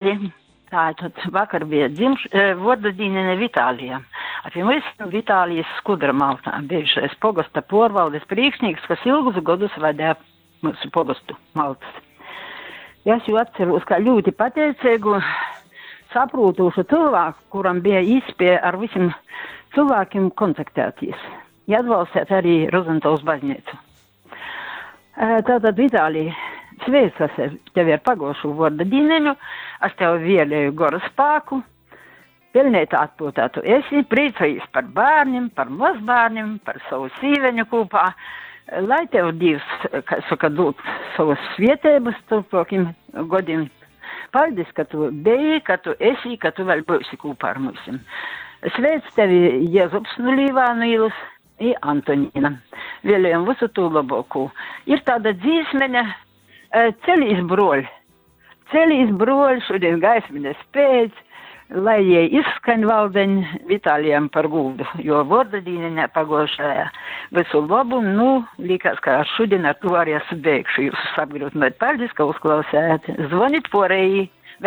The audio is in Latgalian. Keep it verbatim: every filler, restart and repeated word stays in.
Tātad vakar bija dzimš, vuorda dīneņa Vitālijam. A pie mums Vitālijas Skudra Maltā, bijušais pogosta porvaldes prīkšnīks, kas ilgus godus vadīja mūsu pogostu Maltas. Es jū atceros kā ļoti pateicīgu, saprūtošu cilvēku, kuram bija īspēja ar visiem cilvēkiem kontaktēties. Ja atbalstīt arī Rozentāls baznīcu. Tātad, Vitālija, sveicas tevi ar pagošu vārda dīneņu, es tev vēlēju gora spēku, pelnīt atpūtā tu esi, priecājies par bērniem, par mazbērniem, par savu sīveņu kopā, lai tev Dievs, kā saka, dod savas svietības turpākiem godiem. Paldies, ka tu biji, ka tu esi, ka tu vēl būsi kopā ar mums. Sveic tevi Jēzus no Līvānu ielas i Antonīna. Vēlējam visu to labāko. Ir tāda dzīsmeņa, Celīs broļ. Celīs broļ, šodien gaismiņa spēc, lai jie izskaņ valdeņ Vitālijam par gūdu, jo vorda dīneņā pagošajā visu labu, nu, likās, ka ar šodien ar to arī es beigšu jūs apgrūtināt. Paldies, ka uzklausējāt. Zvonit porēji.